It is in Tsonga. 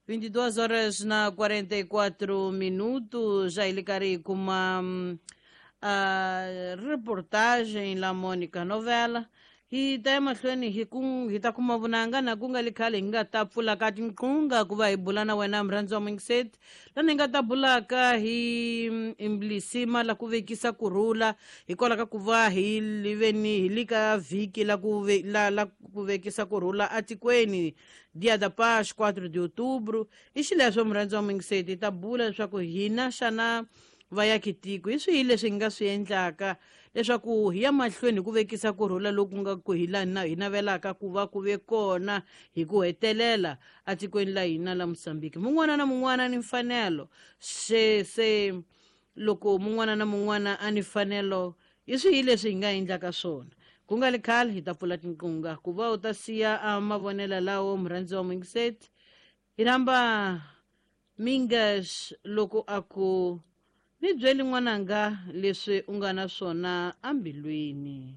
22 horas na 44 minutos, já ele karhi hi kuma reportagem la Mônica Novela. Hi ta emahlweni hi ku hi ta kuma vunanga na ku nga li khale hi nga ta pfula ka tinqunga ku va hi bula na wena murhandzi wa muyingiseti, lani hi nga ta bulaka hi mlisima la ku vekisa kurhula, hikwalaho ka ku va hi liveni hi li ka vhiki la ku ve, la, la ku vekisa kurhula atikweni, Dia da Paz, 4 de Outubro. I xileswo murhandzi wa muyingiseti, hi ta bula leswaku hina xana vayakitiko hi swihi leswi hi nga swi endlaka leswaku hi ya mahlweni hi ku vekisa kurhula loku nga ku hi la hi navelaka ku va ku ve kona hi ku hetelela atikweni la hina la Mosambiki. Mun'wana na mun'wana ni mfanelo, se se loko mun'wana na mun'wana a ni mfanelo, hi swihi leswi hi nga endlaka swona? Ku nga li khale hi ta pfula tinqunga ku va u ta siya a mavonelo lawo murhandzi wa muyingiseti. Hi rhamba Mingas loko a ku ni byeli n'wananga leswi u nga na swona ambilwini.